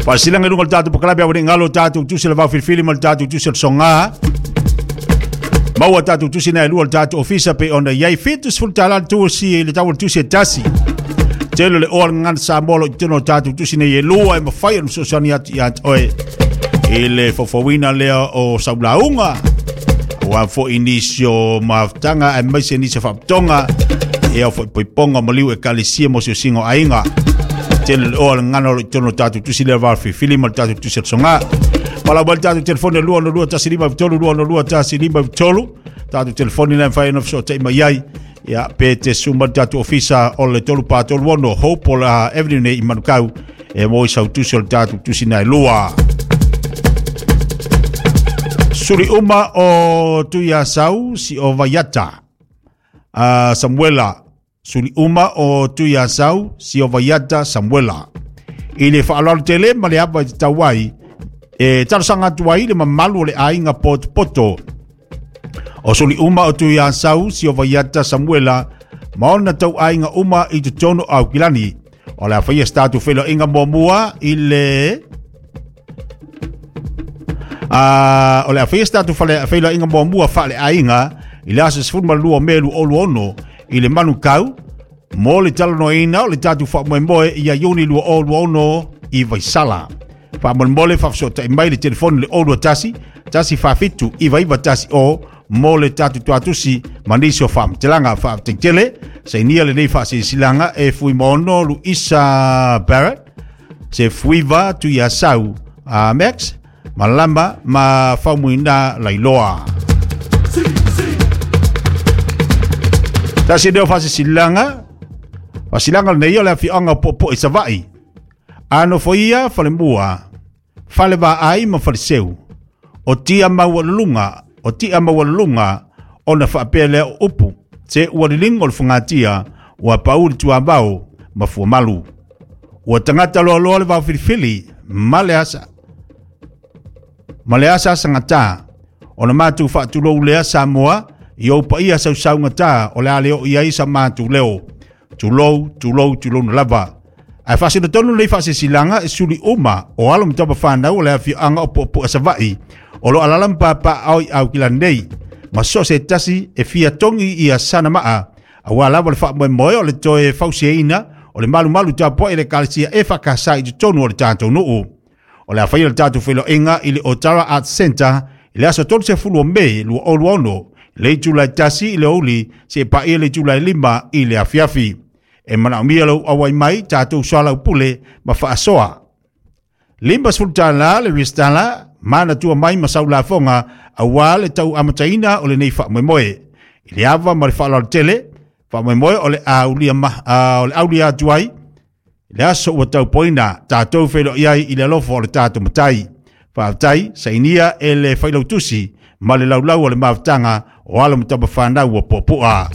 Faasilanga i luga o le tatou pokalape ua nei galo tatou tusi le vaofilifili ma le tatou tusi o le soga. Maua tatou tusi na e lua o le tatou ofisa pe ona i ai $70 le tusi i le tau o le tusi e tasi. Tele le oa le gagana Samoa lo i totonu o tatou tusi nei e lua e mafai ona fesoasoani atu ia te oe i le faufauina lea o saulauga aua foi nisi o mafutaga aemaise nisi o faaputoga ia foi poipoga maliu ekalesia mo siosiga o aiga. Tele le oa le gagana o lo i totonu o tatou tusi lea vaofilifili ma le tatou tusi o le soga. Palau mai le tatou telefoni e 262 153 262 153 tatou telefoni lea e mafai ona fesootai mai ai. Ia, pe te susu mai le tatou ofisa o le 3436 Hope o la Avenue nei i Manukau e mo i sautusi o le tatou tusi na e lua. Suli uma o Tuiasau si o Vaiata. Samuela. Suli uma o Tuiasau si o Vaiata Samuela. I le faaaloalo tele ma le ava i te tau ai, e talosaga atu ai le mamalu o le aiga potopoto. O suli uma o Tuiasau si o Vaiata Samuela ma ona tau aiga uma i totonu o Aukilani. O le a faia se tatou feiloaiga muamua i le o le a faia se tatou feiloaiga muamua faaleaiga i le aso 12 o Me 2026 i le Manukau mo le talanoaina o le tatou faamoemoe ia Iuni 2026 i Vaisala. Faamolemole faafesootai mai le telefoni le 021 147 9910 mo le tatou tuatusi ma nisi o faamatelaga. Faafetai sainia lenei faasilasilaga e Fuimaono Luisa Barrett, se Fuiva Tuiasau Max, Malama ma Faumuina Lailoa. Tasi leo faasisilaga, faasilaga lenei o le afioaga o Po'opo'o i Savaii. A nofoia falemua, fale vaai ma faleseu, o tia maualuluga, o tia maualuluga, ona faapea lea o upu, se ua liligo le fogatia, ua pau le tuavao ma fuamalu. Ua tagata loaloa le vaofilifili, ma le asa, ma le asa asagata, ona matou faatulou lea Samoa, i ou paia sausaugata o le a le oo i ai sa matou leo. Tulou, tulou, tulou na lava. Ae faasino tonu lenei faasesilaga e suli uma o alo ma tama fanau o le afioaga o Puapua Savaii o lo alala ma papaao i Aukilani nei ma so se tasi e fia togi ia sana maa aua lava le faamoemoe o le toe fausiaina o le malumalu tapuai i le ekalesia e faakasa i totonu o le tatou nuu. O le a faia le tatou feiloaiga i le Otara Arts Centre i le aso 30 o Me 2026 le itula e 1 i le aoauli seia paia le itula e 5 i le afiafi. E manaomia lou auai mai tatou soalaupule ma faasoa. $50 le resitala manatua mai ma sau lafoga aua le tau amataina o lenei faamoemoe. I le ava ma le faaaloalo tele, faamoemoe o le aulia, ma, o le aulia atu ai le aso ua taupoina tatou feiloai ai i le alofa o le tatou matai. Faafetai, sainia e le failautusi ma le laulau o le mafutaga o alo ma tama fanau o Puapua.